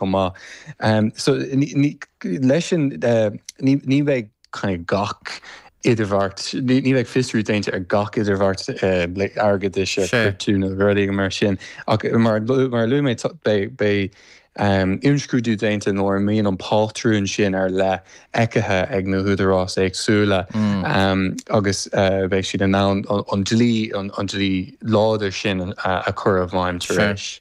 Chomh maith. So leis sin ní bheidh kind of gach idirbheart, ní bheidh fiosrú déanta ar gach idirbheart airgeadais ar cuireadh nó rudaí mar sin ach mar a luaigh mé beidh imscrúdú déanta nuair a mbíonn an pátrún sin ar leith feicthe ag na húdaráis éagsúla agus beidh siad in ann an dlí, an dlí láidir sin a chur i bhfeidhm tar éis.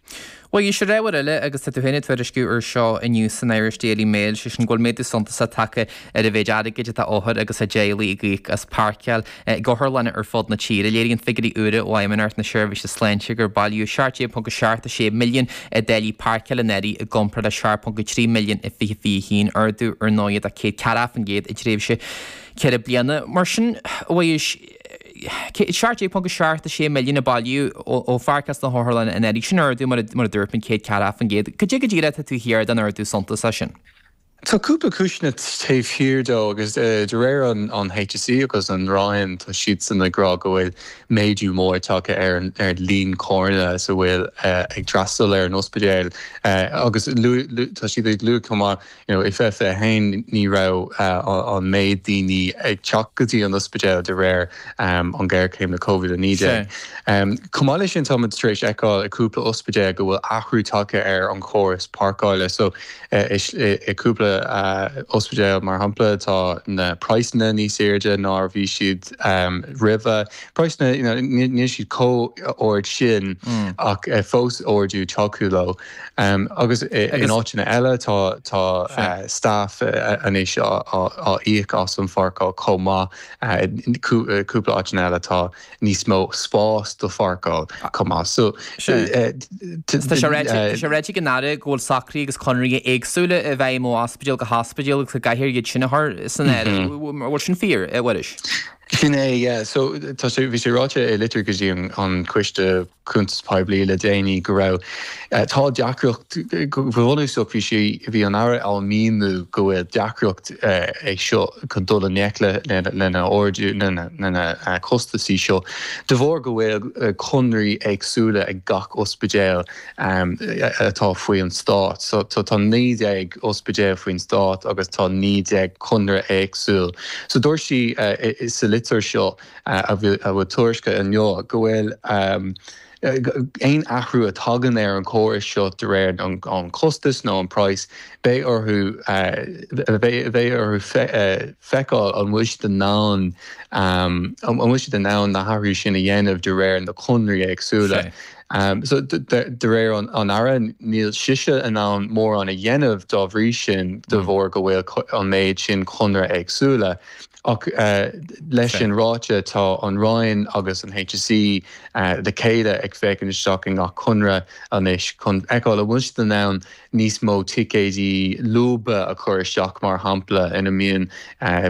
Bhuel, is ar ábhar eile, agus tá tú féin ag tuairisciú ar seo inniu san Irish Daily Mail, sé sin go bhfuil méadú suntasach tagtha ar an mhéid airgid atá othair agus a dteaghlaigh ag íoc as páirceáil ag otharlanna ar fud na tíre. Léiríonn figiúirí úra ó Fheidhmeannacht na Seirbhíse Sláinte gur bailíodh 17.76 milliún i dtáillí páirceála anuraidh i gcomparáid le 7.3 milliún i 2021, ardú ar ndóigh de 104% i dtréimhse ceithre bliana. Mar sin, a Mhuiris, 17.76 milliún a bailíodh ó pháirceáil sna hotharlanna anuraidh. Sin ardú, mar a dúirt mé, 104%. Cad é go díreach atá taobh thiar den ardú suntasach sin? Tá cúpla cúiseanna taobh thiar dó agus de réir an HSE agus an Roinn tá siadsan ag rá go bhfuil méadú mór tagtha ar an líon carranna is a bhfuil ag freastal ar an ospidéal agus tá siad ag lua chomh maith You know, i 2021 ní raibh an méid daoine ag teacht go dtí an ospidéal de réir an ghéarchéim le Covid-19. Chomh maith leis sin táimid tar éis fheiceáil i cúpla ospidéal go bhfuil athrú tagtha ar an chóras páirceála. So i cúpla ospidéal mar shampla tá na praghsanna níos airde ná a bhí siad roimhe. Praghsanna, you know, níl siad chomh ard sin ach fós ardú tagtha leo. Agus in áiteanna eile tá tá staff anois á íoc as an pháirceáil chomh maith. Cúpla áiteanna eile tá níos mó spás do pháirceáil chomh maith. So Tá sé ráite ag an Aire go bhfuil socruithe agus conarthaí éagsúla i bhfeidhm ó ospidéal go hospidéal agus go gcaithfear iad sin a chur san áireamh. An bhfuil sin fíor, a Mhuiris? Sin é, yeah. So tá sé, bhí sé ráite i litir go dtí an Coiste Cuntas Poiblí le déanaí go raibh, tá deacracht, go bunúsach bhí sé, bhí an Aire á míniú go bhfuil deacracht é seo chun dul i ngleic le lena ardú, lena na costasaí seo de bharr go bhfuil conraí éagsúla ag gach ospidéal atá faoi an stát. So tá 19 ospidéal faoin stát agus tá 19 conradh éagsúil. So dúirt sí sa litir seo a bhfuil tuairiscithe inniu go bhfuil aon athrú a tagann ar an chóras seo de réir an costas nó an praghas, beidh orthu beidh orthu feiceáil an bhfuil siad in ann an bhfuil siad in ann na hathruithe sin a dhéanamh de réir na conraí éagsúla. So de réir an Aire, níl sise in ann mórán a dhéanamh dá bhrí sin de bharr go bhfuil an méid sin conradh éagsúla. Ach leis sin ráite, tá an Roinn agus an HSE le chéile ag féachaint isteach i ngach conradh anois chun feiceáil an bhfuil siad in ann níos mó ticéidí lúba a chur isteach mar shampla ina mbíonn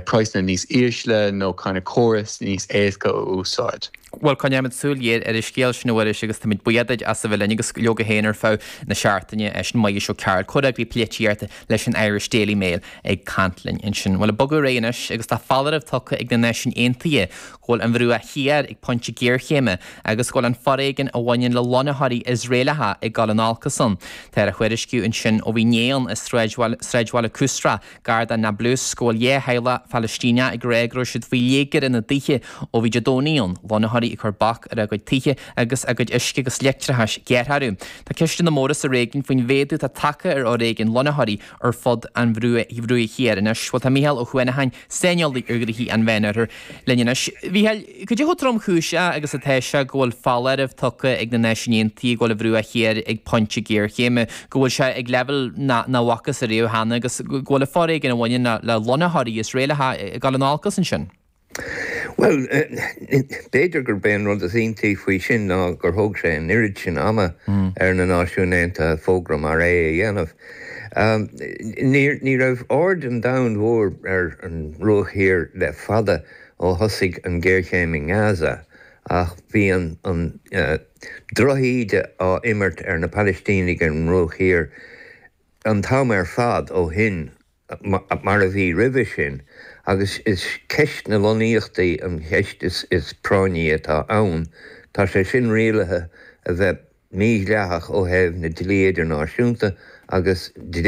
praghsanna níos ísle nó kind of córas níos éasca a úsáid. Bhuel, coinneoimid súil ghéar ar an scéal sin, a Mhuiris, agus táimid buíoch duit as a bheith linn agus leoga féin ar feadh na seachtaine. Sin Muiris Ó Cearúil, Comhfhreagraí Polaitíochta leis an Irish Daily Mail ag caint linn ansin. Bhuel, ag bogadh ar aghaidh anois agus tá foláireamh tugtha ag na Náisiúin Aontaithe go bhfuil an Bhruach Thiar ag pointe géarchéime agus go bhfuil an foréigean a bhaineann le lonnaitheoirí Iosraelacha ag dul in olcas ann. Táthar a thuairisciú ansin ó bhí inné ann i sráidbhaile Qusra Gar do Nablus go bhfuil 2 theaghlach Phalaistíneach ag rá go raibh siad faoi léigear ina dtithe ó bhí Dé Domhnaigh ann, lonnaitheoirí ag cur bac ar a gcuid tithe agus a gcuid uisce agus leictreachais gearrtha orthu. Tá ceisteanna móra sa réigiún faoin mhéadú atá tagtha ar fhoréigean lonnaitheoirí ar fud an Bhruaigh Thiar anois. Bhuel tá Mícheál Ó hUanacháin, saineolaí ar ghnoithí an Mheánoirthir, linn anois. A Mhícheáil, cad é chomh tromchúiseach agus atá sé go bhfuil foláireamh tugtha ag na Náisiúin Aontaithe go bhfuil an Bhruach Thiar ag pointe géarchéime, go bhfuil sé ag leibhéal nach bhfacthas ariamh cheana agus go bhfuil an foréigean a bhaineann le lonnaitheoirí Iosraelacha ag dul in olcas ansin? Bhuel, b'fhéidir gurb é an rud is iontaí faoi sin ná gur thóg sé an oiread sin ama ar na Náisiúin Aontaithe fógra mar é a dhéanamh. Ní raibh aird an domhain mhóir ar an mBruach Thiar le fada ó thosaigh an ghéarchéim i nGaza ach bhí an drochíde á imirt ar na Palaistínigh ar an mBruach Thiar an t-am ar fad ó shin, mar a bhí roimhe sin, agus is ceist na lonnaíochtaí an cheist is práinní atá ann. Tá sé sin rialaithe a bheith mídhleathach ó thaobh na dlí idirnáisiúnta. Agus.